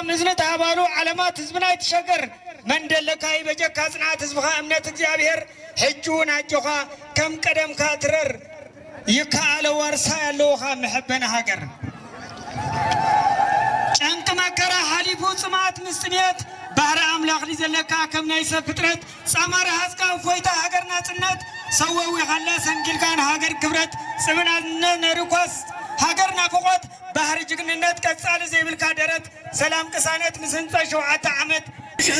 ምዝንት ኣባሉ ዓለማት ህዝብና ይትሸገር። መን ደለካ ይበጀካ ጽንዓት ህዝብኻ እምነት እግዚኣብሔር። ሕጂ እውን ኣጆኻ ከም ቀደምካ ትረር። ይከኣሎ ዋርሳይ ኣለውኻ መሐበኒ ሃገር። ጨንቂ መከራ ሓሊፉ ጽማት ምስ ጥሜት ባህሪ ኣምላኽ ዘለካ ከም ናይ ሰብ ፍጥረት ጻማሪ ሃዝካ እፎይታ ሃገር ናጽነት ሰወዊ ኻላ ሰንጊልካን ሃገር ክብረት ጽምና ነርኳስ ሃገር ናፍቆት ባህሪ ጅግንነት ቀጻሊ ዘይብልካ ደረት ሰላም ቅሳነት ምስ ህንጸ ሸውዓተ ዓመት